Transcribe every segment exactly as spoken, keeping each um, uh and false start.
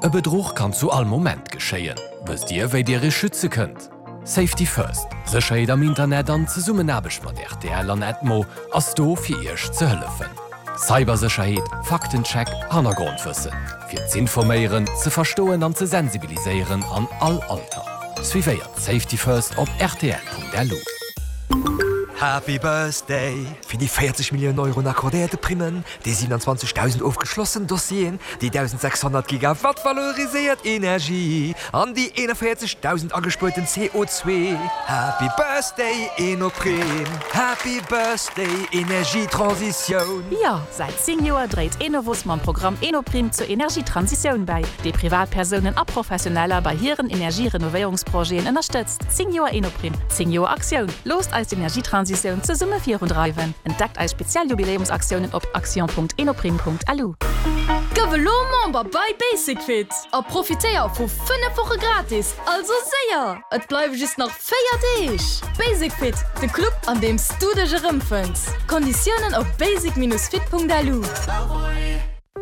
E Bedruch kann zu all Moment geschéien. Wësst Dir, wéi Dir Iech schütze kënnt? Safety First, Sécherheet am Internet an Zesummenaarbecht mat R T L an Edmo ass do fir Iech ze hëllefen. Cybersécherheet, Faktencheck, Hannergrondwëssen. Fir z'informéieren, ze verstoen an ze sensibiliséieren an all Alter. Suivéiert Safety First op R T L Punkt L U. Happy Birthday fir déi véierzeg Milliounen Euro accordéierte Primmen, déi siewenundzwanzegdausend ofgeschlossen Dossieren, déi dausensechshonnert Gigawatt valoriséiert Energie an déi eenanvéierzegdausend agespuerten C O zwee. Happy Birthday Enoprime, Happy Birthday Energietransitioun. Jo, säit zéng Joer dréit Enovos mam Programm Enoprime zur Energietransitioun bäi, déi Privatpersounen a Professioneller bei hiren Energierenovéierungsprojeten ënnerstëtzt. Zéng Joer Enoprime, zéng Joer Aktioun. Loosst eis d'Energietransitioun zesumme virundreiwen. Entdeckt eis speziell Jubiläumsaktiounen op action Punkt enoprime Punkt L U. Gëff elo Member bei Basic Fit a profitéier vu fënnef Woche gratis. Also séier! Et bleiwe just nach véier Deeg. Basic Fit, de Club an deem s du dech erëmfënns. Konditiounen op basic Bindestrich fit Punkt L U.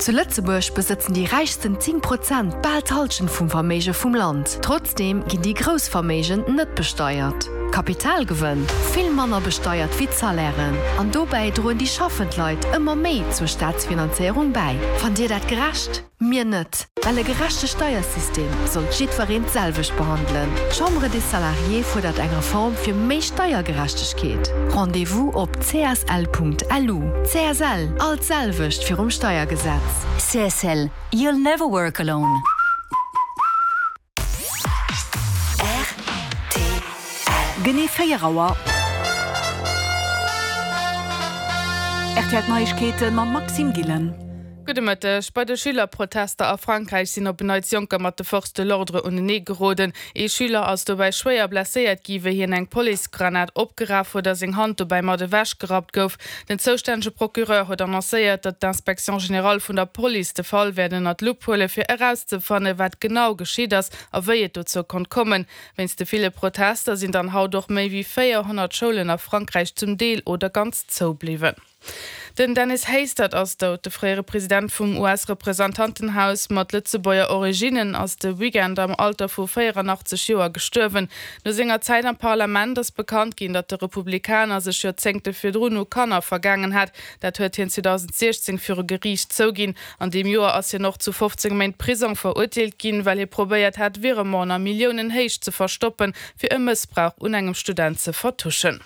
Zu Lëtzebuerg besëtzen déi räichsten zéng Prozent bal d'Hallschent vum Verméige vum Land. Trotzdeem ginn déi grouss Verméigen net besteiert. Kapitalgewënn vill manner besteiert wéi d'Salairen. An dobäi droen déi schaffend Leit ëmmer méi zur Staatsfinanzéierung bäi. Fannt Dir dat gerecht? Mir net. Well e gerechte Steiersystem soll jiddwereen d'selwecht behandelen. D'Chambre des Salariés fuerdert eng Reform fir méi Steiergerechtegkeet. Rendez-vous op C S L Punkt L U. C S L, all d'selwecht virum Steiergesetz. C S L, you'll never work alone. Genee véier Auer. R T L Neiegkeete mam Maxime Gillen. Gudde Mëtteg. Bei de Schülerprotester a Frankräich sinn op en Neits Jonker mat de Forces de l'ordre unenee geroden. Ee Schüler ass dobäi schwéier blesséiert gi wéi hien eng Policegranat opgeraf huet a seng Hand dobäi mat ewechgerappt gouf. Den zoustännege Procureur huet annoncéiert, datt d'Inspection générale vun der Police de Fall wäert ënner d'Lupp huele fir erauszefanne wat genau geschitt ass a wéi et dozou konnt kommen. Wéinst de ville Protester sinn dann haut och méi wéi véierhonnert Schoulen a Frankräich zum Deel oder ganz zoubliwwen. Den Dennis Hastert ass dout. De fréiere President vum U S-Representantenhaus mat Lëtzebuerger Originnen ass de Weekend am Alter vu véieranachtzeg Joer gestuerwen. No senger Zäit am Parlament ass bekannt ginn, datt de Republikaner sech Joerzéngte virdrun u Kanner vergaangen hat. Dat huet hien zweedausendsiechzéng viru Geriicht zouginn. An deem Joer ass hien och zu fofzéng Méint Prisong verurteelt ginn, well hie probéiert hat, Virementen a Milliounenhéicht ze verstoppen, fir e Mëssbrauch un engem Student ze vertuschen.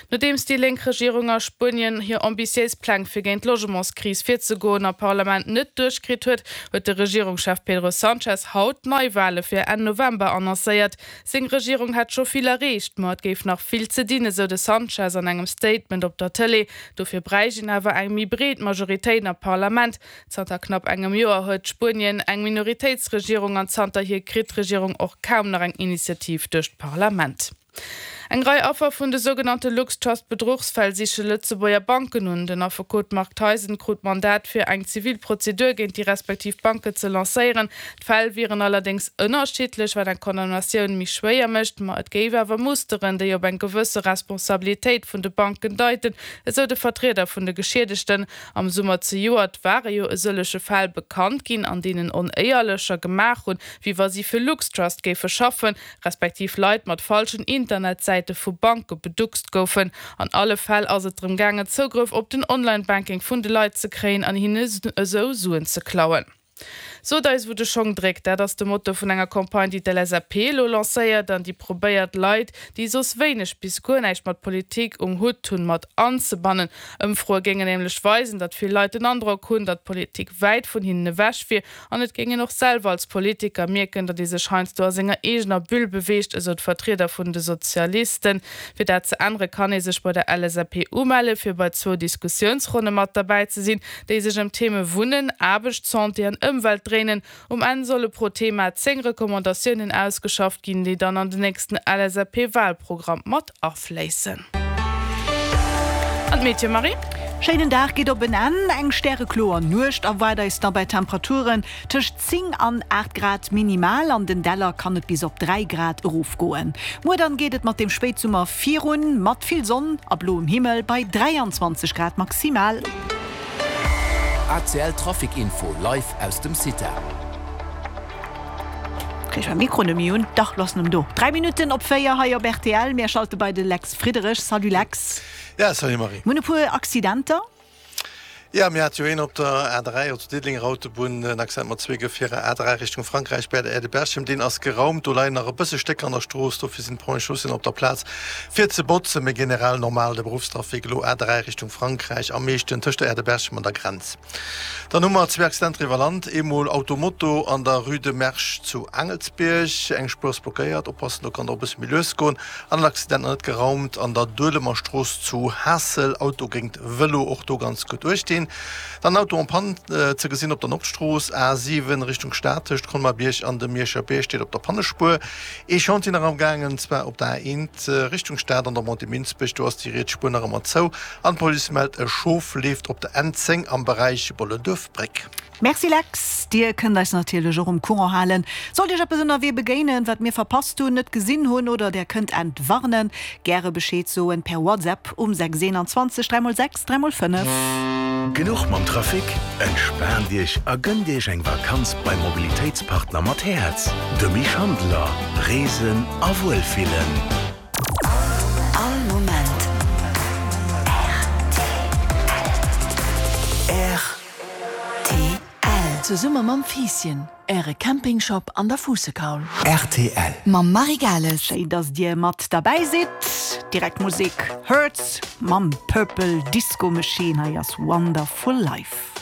Nodeems déi lénk Regierung a Spuenien hir ambitiéis Pläng fir géint d'Logementskris virzegoen am Parlament net duerchkritt huet, huet de Regierungschef Pedro Sánchez haut Neiwale fir Enn November annoncéiert. Seng Regierung hätt scho vill erreecht, ma et géif nach vill ze dinn, esou de Sánchez an engem Statement op der Tëlee. Dofir bräicht een awer eng méi breet Majoritéit am Parlament. Zanter knapp engem Joer huet Spuenien eng Minoritéitsregierung an zanterhier kritt d'Regierung och kaum nach eng Initiativ duerch d'Parlament. Eng Rei Affer vun de sougenannte LuxTrust-Bedruchsfäll siche Lëtzebuerger Banken un. Den Affekot Marc Theisen krut Mandat fir eng Zivilprozedur géint déi respektiv Banken ze lancéieren. D'Fäll wieren allerdéngs ënnerschiddlech, wat eng Condamnatioun méi schwéier mécht, ma et géif awer Musteren, déi op eng gewësse Responsabilitéit vun de Banken deiten, esou de Vertrieder vun de Geschiedegten. Am Summer zejoert ware jo e sëllege Fäll bekannt ginn, an deenen Onéierlecher gemaach hunn, wéi wa si fir LuxTrust géife schaffen, respektiv Leit mat falschen Internetsäite vu Banke beduckst goufen. An alle Fäll ass et drëm gaangen, Zougrëff op den Online-Banking vun de Leit ze kréien an hinne esou Suen ze klauen. Sot eis wou de Schong dréckt, dat ass de Motto vun enger Campagne, déi d'L S A P elo lancéiert an déi probéiert Leit, déi soss wéineg bis guer näischt mat Politik um Hutt hunn, mat anzebannen. Ëmfroe géingen nämlech weisen, datt vill Leit den Androck hunn, datt Politik wäit vun hinnen ewech wier an et géing een och selwer als Politiker mierken, datt ee sech heiansdo a senger eegener Bulle beweegt, esou d'Vertrieder vun de Sozialisten. Fir dat ze ännere kann ee sech bei der L S A P umelle fir bei zwou Diskussiounsronne mat derbäi ze sinn, déi sech ëm Theme Wunnen, Aarbecht, Santé an Ëmwelt dréinen. Um Enn solle pro Thema zéng Recommandatiounen ausgeschafft ginn, déi dann an den nächsten L S A P-Walprogramm mat afléissen. An d'Meteo, Marie? Schéinen Dag geet op en Enn, eng stärekloer Nuecht erwaart eis da bei Temperaturen tëscht zéng an aacht Grad minimal, an den Däller kann et bis op dräi Grad erofgoen. Muer dann geet et mat dem Spéitsummer virun, mat vill Sonn a bloem Himmel bei dräianzwanzeg Grad maximal. A C L Trafic Info live aus dem Cita. Kréich mäi Mikro net méi un. Dach, loossen em do. Dräi Minutten op véier hei op rtl. Mir schalte bei de Lex Friederich. Salut Lex. Ja, salut Marie. Mir hunn e puer Accidenter. Ja, mir hate jo een op der A dräi, op der Diddelenger Autobunn, en Accident mat zwee Gefierer, A dräi Richtung Frankräich bäi der Aire de Berchem. Deen ass geraumt. Do leien nach e bësse Stécker an der Strooss, dofir sinn d'Ponts et Chaussées op der Plaz fir ze botzen. Mee generell normal de Beruffstrafic elo A dräi Richtung Frankräich am meeschten tëscht der Aire de Berchem an der Grenz. Dann hu mer zwee Accidenter iwwer Land, eemol Auto-Moto an der Rue de Mersch zu Aangelsbierg, eng Spuer ass blockéiert, oppassen, do kann et och e bësse méi lues goen, an en Accident nach net geraumt an der Duelemer Strooss zu Haassel, Auto géint Vëlo, och do ganz gutt uecht dinn. Dann en Auto en panne ze gesinn op der Nordstrooss, A siwen Richtung Stad, tëscht Colmar-Bierg an dem Mierscher Bierg, steet op der Pannespuer. Ee Chantier nach am gaangen, zwar op der A eent Richtung Stad an der Montée Minsbech, do ass déi riets Spuer nach ëmmer zou an d'Police mellt, e Schof leeft op der N zéng am Beräich Bollenduerf Bréck. Merci Lex, dir kënnt eis natierlech och um Courant halen, sollt iech eppes ënnerwee begéinen, wat mir verpasst hunn, net gesinn hunn oder där kënnt entwarnen. Gäre Bescheed soen per WhatsApp um sechs eenanzwanzeg dräi mol sechs dräi mol fënnef. Genuch mam Trafic? Entspaant Iech a gënnt Iech eng Vakanz beim Mobilitéitspartner mat Häerz, dem Misch Handeler. Reesen a Wuelfillen. All Moment rtl. Zesumme mam Fiisschen, Äre Campingshop an der Fuussekaul. Rtl. Mam Marie Gales. Schéin, dass Dir mat derbäi sidd. Direkt Musek, Hurts mam Purple Disco Machine. Hei ass Wonderful Life.